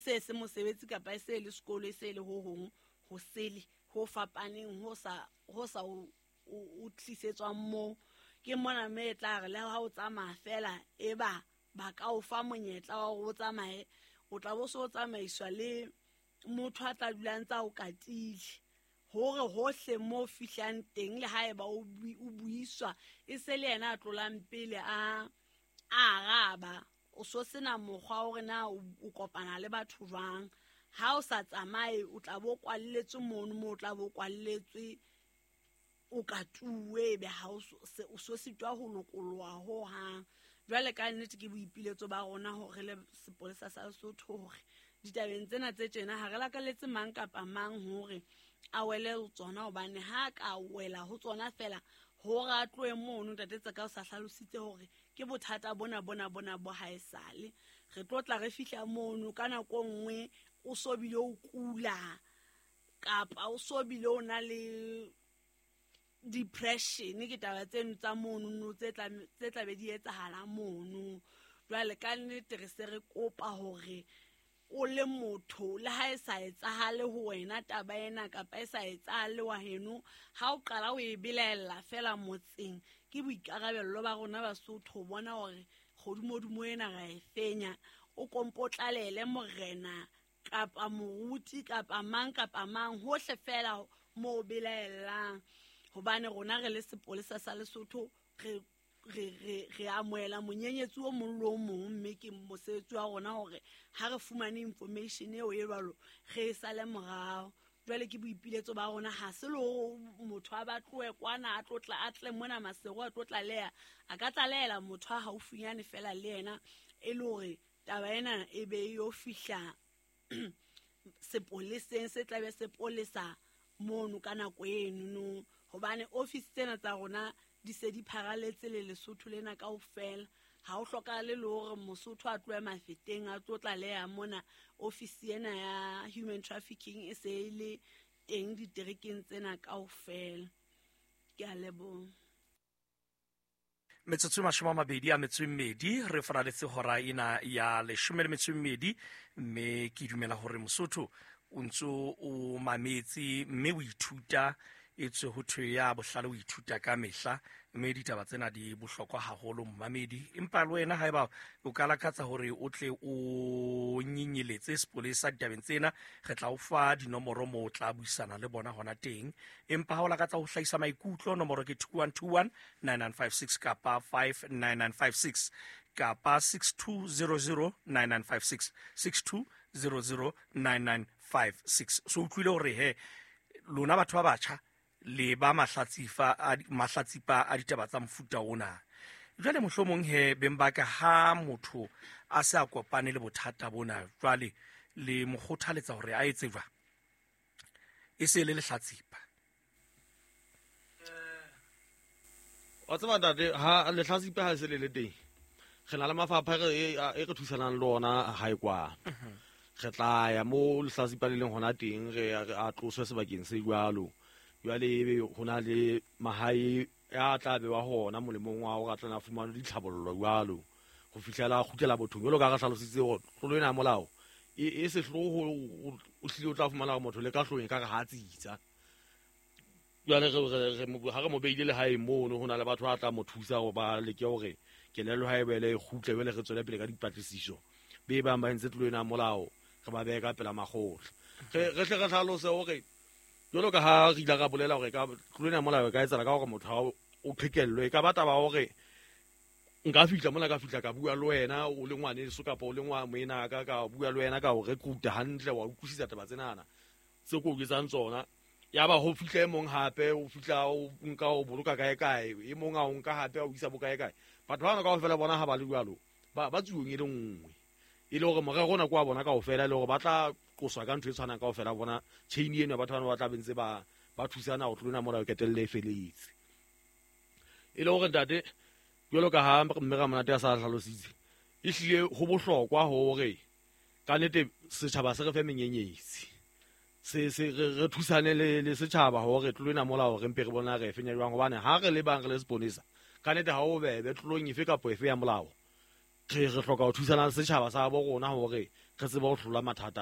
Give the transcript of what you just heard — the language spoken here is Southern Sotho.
Se se mosebetsi kapa e se le sekolo, e se le ho hong ho sele ho fapaneng ho sa o tlisetswang moo. Ke mona mme e tla re le ha o tsamaya fela, e ba ba ka o fa monyetla wa hore o tsamaye, o tla bo so o tsamaiswa le motho a tla dulang tsa o katile hore hohle mo fihlang teng, le haeba o buiswa, e se le yena a tlolang pele a araba. O so sena mokgwa hore na o kopana le batho jwang. Ha o sa tsamaye, o tla bo kwalletswe mono, mo o tla bo kwalletswe, o katuwe, ebe ha o so sitwa ho lokoloha ho hang. Jwale ka nnete ke boipiletso ba rona hore le sepolesa sa Lesotho, hore ditabeng tsena tse tjena ha re lakaletse mang kapa mang hore a wele ho tsona, hobane ha ka wela ho tsona fela, hore a tlohe mono. Ntate Tseka o sa hlalositse hore ke bothata bona bona bona bo haesale re tlo tla re fihla mono ka nako nngwe, o so bile o kula kapa o so bile o na le depression. Ke taba tseno tsa monono tse tla be di etsahala mono. Jwale ka nnete re se re kopa hore o le motho, le ha e sa etsahale ho wena taba ena kapa e sa etsahale wa heno, ha o qala o e belaella fela motseng, ke boikarabello ba rona Basotho ho bona hore kgodumodimo ena ra e fenya. O kompotlalele morena kapa moruti kapa mang kapa mang hohle fela mo o belaellang, hobane rona re le sepolesa sa Lesotho re amohela monyenyetsi o mong le o mong, mme ke mosebetsi wa rona hore ha re fumane information eo e jwalo, re e sale morao. Jwale ke boipiletso ba rona, ha se le hore motho a batloe kwana a tlo tla a tle mona Maseru a tlo tlaleha. A ka tlalehela motho a haufinyane fela le yena, e le hore taba ena e be e yo fihla sepoleseng se tlabe sepolesa mono ka nako enono, hobane office tsena tsa rona di se di pharaletse le Lesotho lena kaofela. Ha o hlokahale le hore Mosotho a tlohe Mafeteng a tlo tlaleha mona. Office ena ya human trafficking e se e le teng diterekeng tsena kaofela. Ke a leboha. Metsotso e 28 re faraletse hora ena ya 12, mme ke dumela hore Mosotho o ntso o mametse mme o ithuta. E tswe ho thwe ya bohlale o ithuta ka mehla, mme ditaba tsena di bohlokwa haholo, mmamedi. Empa le wena haeba o ka lakatsa hore o tle o nyenyeletse sepolesa ditabeng tsena, re tla o fa dinomoro moo o tla buisana le bona hona teng. Empa ha o lakatsa ho hlahisa maikutlo, nomoro ke 2121 9956 kapa 59956 kapa 6200 9956, 6200 9956. So utlwile hore he lona batho ba batjha le ba mahlatsipa a ditaba tsa mofuta ona. Jwale mohlomong he beng ba ka, ha motho a se a kopane le bothata bona, jwale le mo kgothaletsa hore a etse jwang e se le lehlatsipa? Wa tseba ntate, ha lehlatsipa ha se le le teng, re na le mafapha e re thusanang le ona hae kwa. Re tla ya mo lehlatsipa le leng hona teng, re a tloswe sebakeng se jwalo. Jwale ebe ho na le mahae ya tla bewa hona molemong wa hore a tlana fumane ditlhabollo jwalo ho fihlela a kgutlela bothong. Jwalo ka re hlalositse hore tlolo ena ya molao e sehloho, o hlile o tla fumana hore motho le ka hloohong e ka re ha tsitsa. Jwale ha re mo beile lehaeng mono, ho na le batho ba tla mo thusa hore ba leke hore kelello ha e boele e kgutle. Jwale re tswele pele ka dipatlisiso, be bang ba entse tlolo ena ya molao, re ba behe ka pela makgotla. Re hle re hlalose hore jwalo ka ha re ile ra bolela hore ka tlolo ena ya molao e ka etsahala ka hore motho ha o qhekellwe. E ka ba taba hore nka fihla mona, ka fihla ka bua le wena o le ngwaneso kapa o le moena ka, ka bua le wena, ka o recruita hantle, wa utlwisisa taba tsenana tse ko o jwetsang tsona. Ya ba ho fihla e mong hape, o fihla o nka o boloka kae kae, e mong a o nka hape a o isa bo kae kae. Batho bana kaofela bona ha ba le jwalo, ba tsuong e le nngwe, e le hore morero ona ke wa bona kaofela, e le hore ba tla qoswa ka ntho e tshwanang kaofela. Bona chain eno ya batho bana ba tla be ntse ba thusana ho tlolo ena molao e qetelle e feletse. E le hore ntate, jwalo ka ha mme Ramonate a sa hlalositse, ehlile ho bohlokwa hore ka nnete setjhaba se re fe menyenyetsi, se re thusane le setjhaba hore tlolo ena molao re mpe re bona re e fenya jwang, hobane ha re le bang re le seponesa, ka nnete ha o bebe tlolong efe kapa efe ya molao. Re hloka ho thusana le setjhaba sa bo rona hore re tsebe ho hlola mathata.